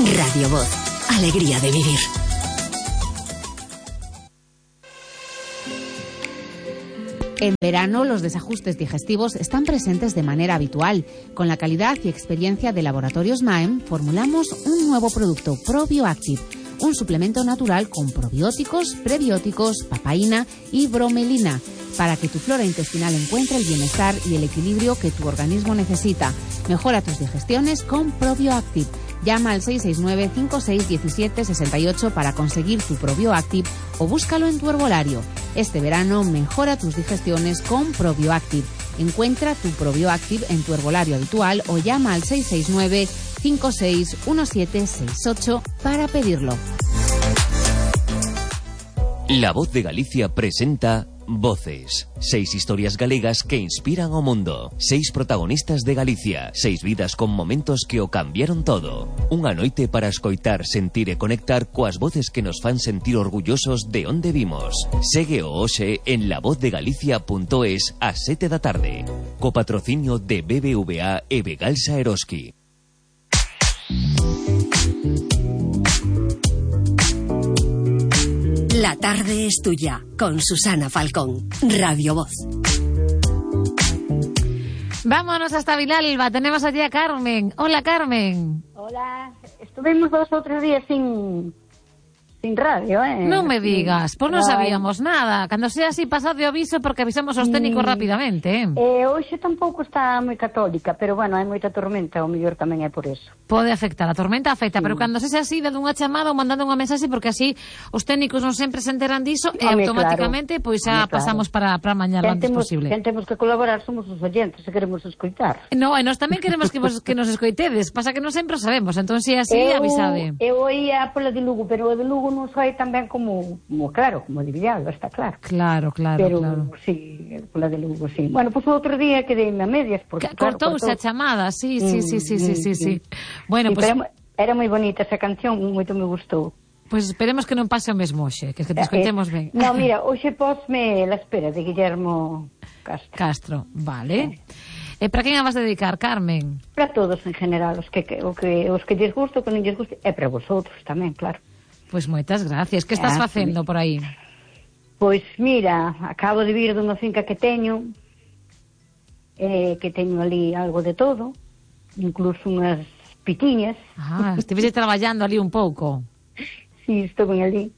Radio Voz. Alegría de vivir. En verano, los desajustes digestivos están presentes de manera habitual. Con la calidad y experiencia de Laboratorios Maem, formulamos un nuevo producto, ProbioActive, un suplemento natural con probióticos, prebióticos, papaína y bromelina, para que tu flora intestinal encuentre el bienestar y el equilibrio que tu organismo necesita. Mejora tus digestiones con ProbioActive. Llama al 669-5617-68 para conseguir tu ProbioActive o búscalo en tu herbolario. Este verano mejora tus digestiones con ProbioActive. Encuentra tu ProbioActive en tu herbolario habitual o llama al 669-5617-68 para pedirlo. La Voz de Galicia presenta Voces. 6 historias galegas que inspiran o mundo. 6 protagonistas de Galicia. 6 vidas con momentos que o cambiaron todo. Unha noite para escoitar, sentir e conectar coas voces que nos fan sentir orgullosos de onde vimos. Segue o hoxe en lavozdegalicia.es ás 7 da tarde. Co patrocinio de BBVA e Begalsa Eroski. La tarde es tuya, con Susana Falcón. Radio Voz. Vámonos hasta Vilalba. Tenemos allí a Carmen. Hola, Carmen. Hola. Estuvimos 2 o 3 días sin radio, Non me digas, pois non sabíamos nada. Cando sea así, pasado o aviso, porque avisamos aos técnicos rapidamente. Hoxe tampouco está moi católica, pero bueno, hai moita tormenta, o mellor tamén é por eso. Pode afectar, a tormenta afecta, pero cando sexa así, dando unha chamada ou mandando unha mensaxe, porque así os técnicos non sempre se enteran diso e automáticamente pois xa pasamos para mañá lo antes posible. Quen temos que colaborar somos os oyentes, se queremos escoitar. No, e nós tamén queremos que nos escoitedes, pasa que non sempre o sabemos, entón se así, avisade. Eu oía pola de Lugo, pero o de Lugo non sai tan ben como de Villalba, está claro. Claro. Pero sí, pola de Lugo, sí. Bueno, pois outro día quedei a medias porque cortouse a chamada, sí. Bueno, pues era moi bonita esa canción, moito me gustou. Pois esperemos que non pase o mesmo hoxe, que te escoitemos ben. No, mira, hoxe posme La espera de Guillermo Castro, vale. E para quen a vas dedicar, Carmen? Para todos en general, os que lles gusto, que non lles guste, e para vosotros tamén, claro. Pois moitas gracias. Que estás facendo por aí? Pois mira, acabo de vir dunha finca que teño ali algo de todo, incluso unhas pitiñas. Estivese traballando ali un pouco. Sí, estou ben ali.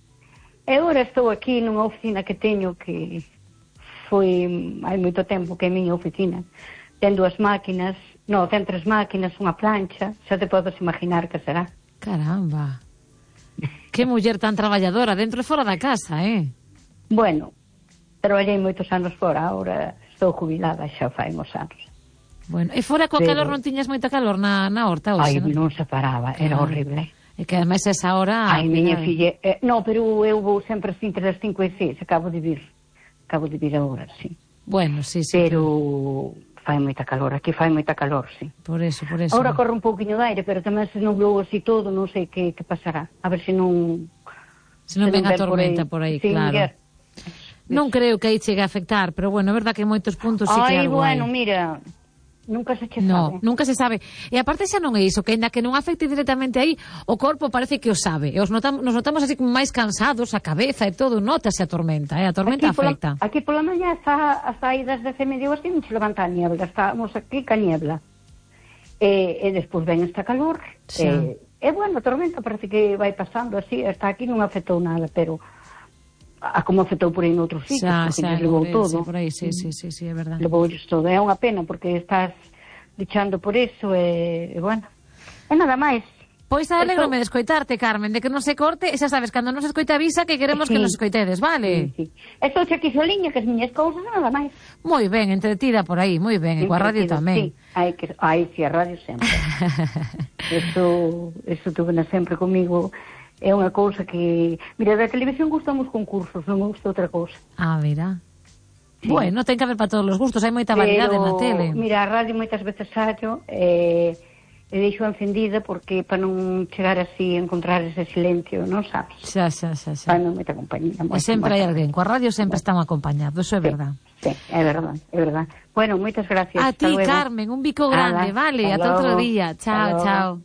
E agora estou aquí nunha oficina que teño que foi hai moito tempo que é a miña oficina. Ten 2 máquinas, ten 3 máquinas, unha plancha, xa te podes imaginar que será. Caramba. Que muller tan traballadora, dentro e fora da casa, Bueno, traballei moitos anos fora, agora estou jubilada, xa fai uns anos. Bueno, e fora coa calor non tiñas moita calor na horta hoxe, non se paraba, era horrible. E que ademais esa hora... miña filla... pero eu vou sempre assim, entre as 5 e 6, acabo de vir agora, sí. Bueno, sí. Pero... fai moita calor, aquí fai moita calor, sí. Por eso. Ahora corre un pouquiño de aire, pero tamén se nublou así todo, non sei que pasará. A ver se non... Se non ven a tormenta por aí, claro. Non creo que aí chegue a afectar, pero bueno, é verdad que en moitos puntos sí que algo hai. Mira, nunca se sabe. No, nunca se sabe. E aparte xa non é iso, que ainda que non afecte directamente aí, o corpo parece que o sabe. E nos notamos así como máis cansados, a cabeza e todo, notase a tormenta, a tormenta afecta. Aquí pola mañá as saídas de medio así, non se levanta a niebla, estamos aquí ca niebla. E despois ven esta calor, e bueno, a tormenta parece que vai pasando así, hasta aquí non afectou nada, pero a como afectou por aí noutros sitios, porque lles levou todo. Por aí, sí, é verdade. Levoulles todo, é unha pena, porque estás luchando por eso, e bueno, e nada máis. Pois alegrome de escoitarte, Carmen, de que non se corte, e xa sabes, cando non se escoita avisa que queremos que nos escoitedes, vale? Sí. Estou aquí soliña, que as miñas cousas, nada máis. Moi ben, entretida por aí, moi ben, e coa radio tamén. Sí, a radio sempre. Eso tuve sempre comigo. É unha cousa que... Mira, da televisión gustamos concursos, non me gusta outra cousa. Mira. Sí. Bueno, ten que haber para todos os gustos, hai moita variedade na tele. Mira, a radio moitas veces sallo e deixo encendida porque para non chegar así a encontrar ese silencio, non sabes? Xa. Para non moita compañía. E sempre hai alguén, coa radio sempre están acompañados, eso é verdad. Sí, é verdad. Bueno, moitas gracias. A ti, Carmen, un bico grande, vale? Ata outro día. Chao.